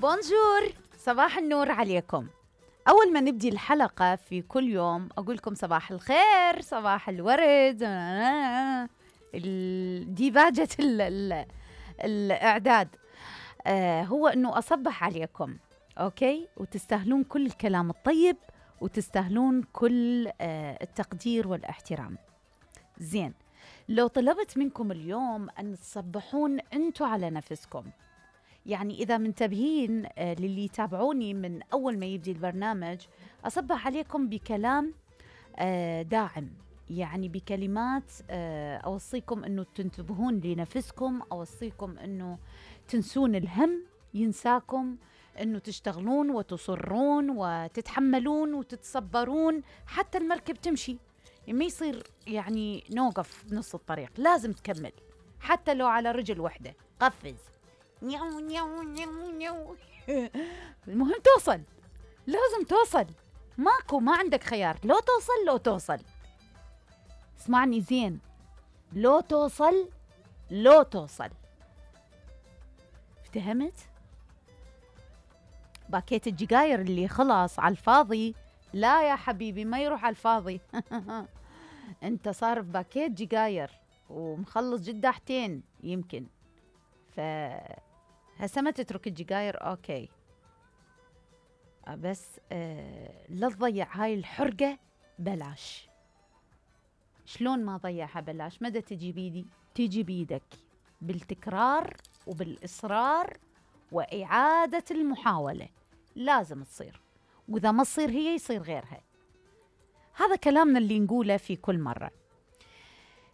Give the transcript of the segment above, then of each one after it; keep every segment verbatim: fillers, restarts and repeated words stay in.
بونجور، صباح النور عليكم. أول ما نبدي الحلقة في كل يوم أقول لكم صباح الخير، صباح الورد. ديباجة ال ال الإعداد آه هو أنه أصبح عليكم، أوكي؟ وتستاهلون كل الكلام الطيب، وتستاهلون كل آه التقدير والاحترام. زين، لو طلبت منكم اليوم أن تصبحون أنتوا على نفسكم، يعني إذا منتبهين آه للي يتابعوني من أول ما يبدي البرنامج، أصبح عليكم بكلام آه داعم، يعني بكلمات آه أوصيكم أنه تنتبهون لنفسكم، أوصيكم أنه تنسون الهم ينساكم، أنه تشتغلون وتصرون وتتحملون وتتصبرون حتى المركب تمشي. ما يصير يعني نوقف بنص الطريق، لازم تكمل حتى لو على رجل واحدة. قفز نيو نيو نيو نيو المهم توصل، لازم توصل، ماكو ما عندك خيار، لو توصل لو توصل اسمعني زين، لو توصل لو توصل افتهمت؟ باكيت الجقاير اللي خلاص على الفاضي، لا يا حبيبي ما يروح على الفاضي. انت صار في باكيت جقاير ومخلص جداحتين يمكن، ف هسه ما تترك الجقاير، اوكي، بس آه لا تضيع هاي الحرقة بلاش. شلون ما ضيعها بلاش؟ مدى تجي بيدي؟ تجي بيدك بالتكرار وبالإصرار وإعادة المحاولة، لازم تصير، وإذا ما تصير هي يصير غيرها. هذا كلامنا اللي نقوله في كل مرة.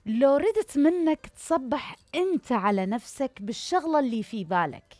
لو ردت منك تصبح أنت على نفسك بالشغلة اللي في بالك،